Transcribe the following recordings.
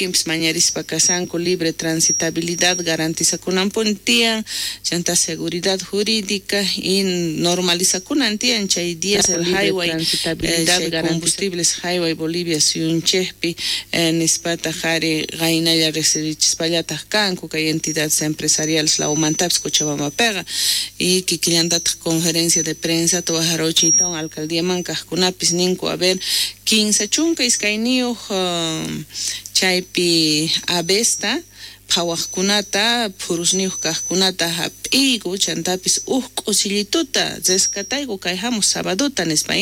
Wakinpis mañarispa kashanku libre transitabilidad garantizakunanpuni tiyan, chantá seguridad jurídica y normalizakunan tiyan chay diésel highway, chay combustibles highway Bolivia suyunchejpi nispataj ari qaynalla rejsirichispallataj kanku kay entidades empresariales lawmantapis Cochabambapeqa y kikillantataj conferencia de prensata wajaruchiytawan alcaldiaman kajkunapis ninku a ver 32 chaypi avesta phawajkunata phurusniyuj kajkunata jap'iyku chantapis uj k'usillituta rescatayku kay jamuj sabadota nispa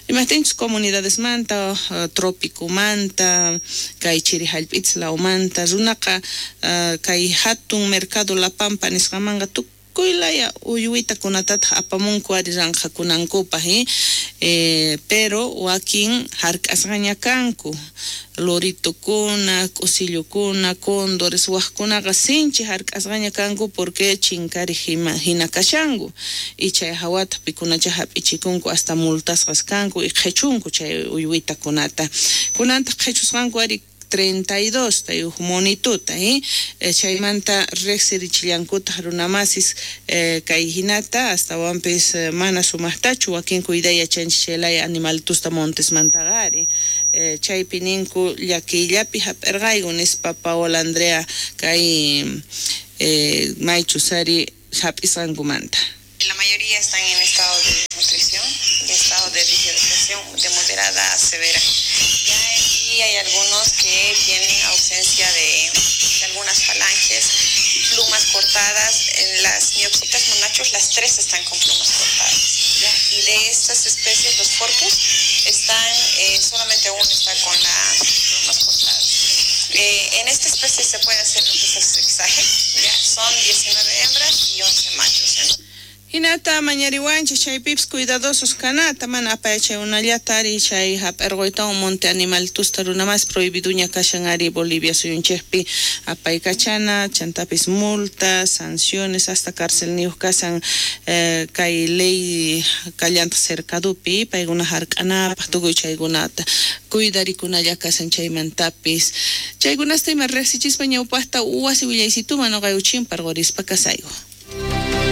imajtinchus comunidadesmanta tropicomanta kay chiri jallp'itas lawmanta runaqa kay jatun mercado La Pampa nisqamanqa tukuy laya uywitakunatataj apamunku ari ranqhakunankupaj pero wakin jark'asqaña kanku loritukuna, k'usillukuna, cóndores wajkunaqa sinchi jark'asqaña kanku porque chinkarej jina kashanku y chay jawata pikunacha jap'ichikunku hasta multasqas kanku y qhechunku chay uywitakunata kunantaj qhechusqanku ari 32 ta uj monituta chaymanta rejsirichillankutaj runamasis kay jinata astawanpis mana sumajtachu wakin cuiday yachanchis chay laya animalitusta montesmantaqa ari chaypi ninku llakiyllapi jap'erqayku nispa Paola Andrea kay maychus ari jap'isqankumanta. La mayoría están en estado de desnutrición y estado de deshidratación de moderada a severa. Ya aquí hay algunos que tienen ausencia de algunas falanges, plumas cortadas. En las miopsitas monachos las 3 están con plumas cortadas, ¿ya? Y de estas especies, los forpus, están, solamente uno está con las plumas cortadas. En esta especie se puede hacer lo que es el sexaje, ¿ya? Son 19 hembras y 11 machos. Hinata mañariwanchis chaypipis cuidadosos kanata mana apayachay unallata ari chay jap'erquytawan monte animalitusta runa mas prohibiduña kashan ari Bolivia suyunchejpi apaykachana chantapis multas, sanciones hasta cárcel niyuj kashan kay ley kallantaq cercadupi paykuna jark'anapaj tukuy chaykunata cuidarikunalla kashan chaymantapis chaykunasta ima rejsichispa ñawpajta wasi willaysituman noqayku chimparqurispa kasayku.